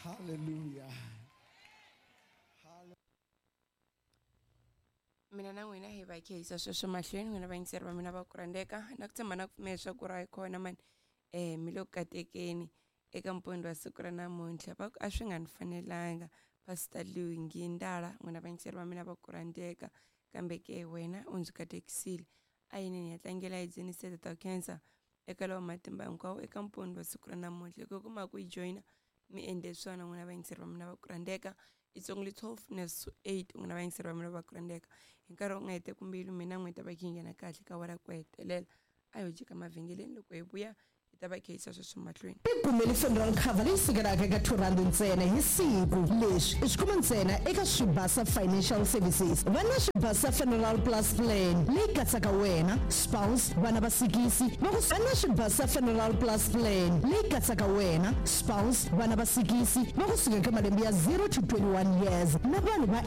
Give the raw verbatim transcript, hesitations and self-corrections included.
Hallelujah. Mina na n'wina hi va khehisa sweswo mahlweni. N'wina vayingiseri va mina va ku rhandzeka, na ku tshemba na ku pfumela leswaku ra hi kona mani, um mi le ku katekeni eka mpundzu wa siku ra namuntlha. Va ku a swi nga ni fanelanga, Pastor Lungi Ndala. N'wina vayingiseri va mina va ku rhandzeka, kambe ke wena u ndzi katekisile. A yini ni ya tlangela hi dzunise Tata Cancer eka lawa matimba hinkwawo eka mpundzu wa siku ra namuntlha. Loko kuma ku yi joyina mi endle swona. N'wina vayingiseri va mina va ku rhandzeka, it's only twelve minutes to eight. N'wina vayingiseri va mina va ku rhandzeka, hi nkarhi wu nga hete mbilu, mina n'wi ta va kha yi nghena kahle ka wara ku hetelela. A yo jika mavhengeleni, loko hi vuya hi ta va khehisa sweswo mahlweni. Tikumeli funeral cover leyi sukelaka eka two rand ntsena hi siku. Leswi i swi kuma ntsena eka Swibasa Financial Services. Va na Swibasa Funeral Plus Plan leyi katsaka wena, spouse, vana va sikisi va ku. Va na Swibasa Funeral Plus Plan leyi katsaka wena, spouse, vana va sikisi va kusuka eka malembe ya zero to twenty-one years na vanhu va